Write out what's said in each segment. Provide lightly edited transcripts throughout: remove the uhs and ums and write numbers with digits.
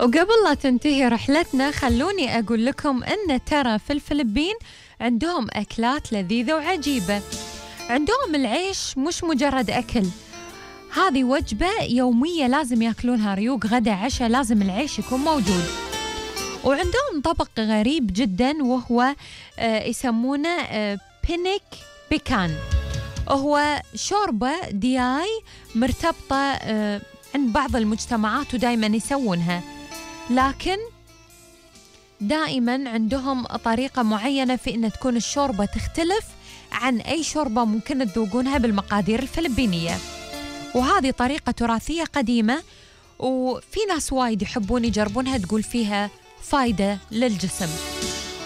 وقبل لا تنتهي رحلتنا خلوني أقول لكم أن ترى في الفلبين عندهم أكلات لذيذة وعجيبة. عندهم العيش مش مجرد أكل، هذه وجبة يومية لازم يأكلونها، ريوق غدا عشاء لازم العيش يكون موجود. وعندهم طبق غريب جدا وهو يسمونه بينيك بيكان، وهو شوربة دياي مرتبطة عند بعض المجتمعات ودائما يسوونها، لكن دائما عندهم طريقة معينة في أن تكون الشوربة تختلف عن أي شوربة ممكن تذوقونها بالمقادير الفلبينية. وهذه طريقة تراثية قديمة وفي ناس وايد يحبون يجربونها، تقول فيها فايدة للجسم.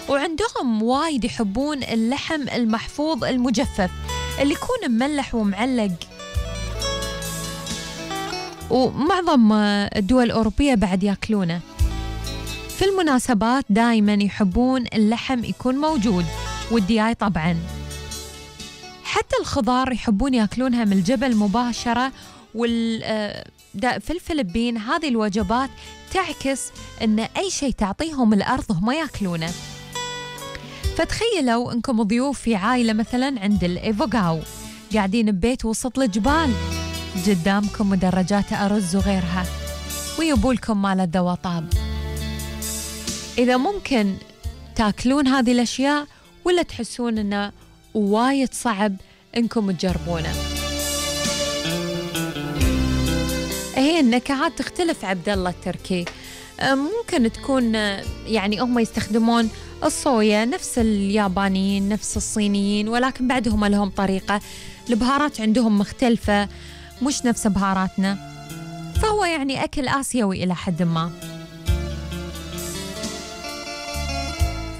وعندهم وايد يحبون اللحم المحفوظ المجفف اللي يكون مملح ومعلق، ومعظم الدول الأوروبية بعد يأكلونه. في المناسبات دائما يحبون اللحم يكون موجود، والدياي طبعا. حتى الخضار يحبون يأكلونها من الجبل مباشرة. في الفلبين هذه الوجبات تعكس أن أي شيء تعطيهم الأرض هم يأكلونه. فتخيلوا أنكم ضيوف في عائلة مثلا عند الإيفوغاو، قاعدين ببيت وسط الجبال، قدامكم مدرجات أرز وغيرها، ويبولكم مال الذوطاب. إذا ممكن تاكلون هذه الأشياء ولا تحسون أنه وايد صعب أنكم تجربونه؟ هي النكهات تختلف. عبد الله التركي ممكن تكون يعني هم يستخدمون الصويا نفس اليابانيين نفس الصينيين، ولكن بعدهم لهم طريقة. البهارات عندهم مختلفة مش نفس بهاراتنا، فهو يعني أكل آسيوي إلى حد ما.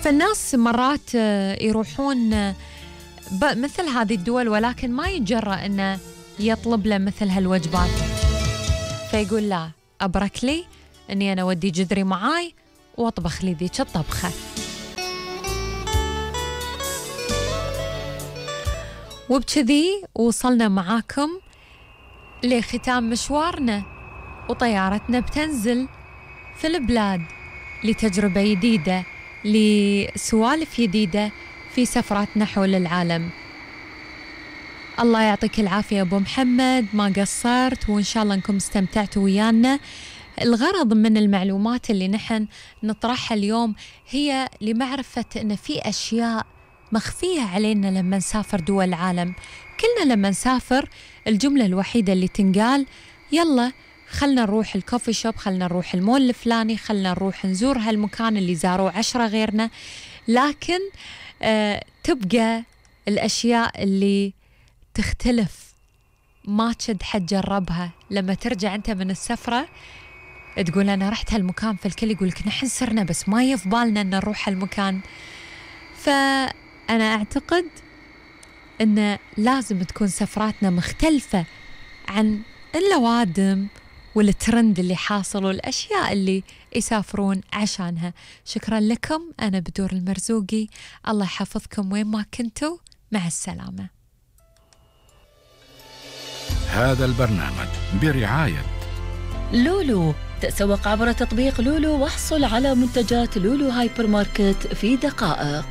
فالناس مرات يروحون مثل هذه الدول ولكن ما يتجرأ أنه يطلب له مثل هالوجبات، فيقول لا، أبرك لي أني أنا ودي جذري معاي وأطبخ لي ذيك الطبخة. وبكذي وصلنا معاكم لختام مشوارنا، وطيارتنا بتنزل في البلاد لتجربة جديدة، لسوالف جديدة في سفراتنا حول العالم. الله يعطيك العافية أبو محمد، ما قصرت، وإن شاء الله أنكم استمتعتوا ويانا. الغرض من المعلومات اللي نحن نطرحها اليوم هي لمعرفة أن في أشياء مخفية علينا لما نسافر دول العالم. كلنا لما نسافر الجملة الوحيدة اللي تنقال يلا خلنا نروح الكوفي شوب، خلنا نروح المول الفلاني، خلنا نروح نزور هالمكان اللي زاروه 10 غيرنا. لكن تبقى الأشياء اللي تختلف ما تشد حد جربها. لما ترجع أنت من السفرة تقول أنا رحت هالمكان، فالكل يقولك نحن سرنا بس ما يفضلنا أن نروح هالمكان. فأنا أعتقد أن لازم تكون سفراتنا مختلفة عن اللوادم والترند اللي حاصل والأشياء اللي يسافرون عشانها. شكرا لكم، أنا بدور المرزوقي، الله يحفظكم وين ما كنتوا، مع السلامة. هذا البرنامج برعاية لولو. تسوق عبر تطبيق لولو واحصل على منتجات لولو هايبر ماركت في دقائق.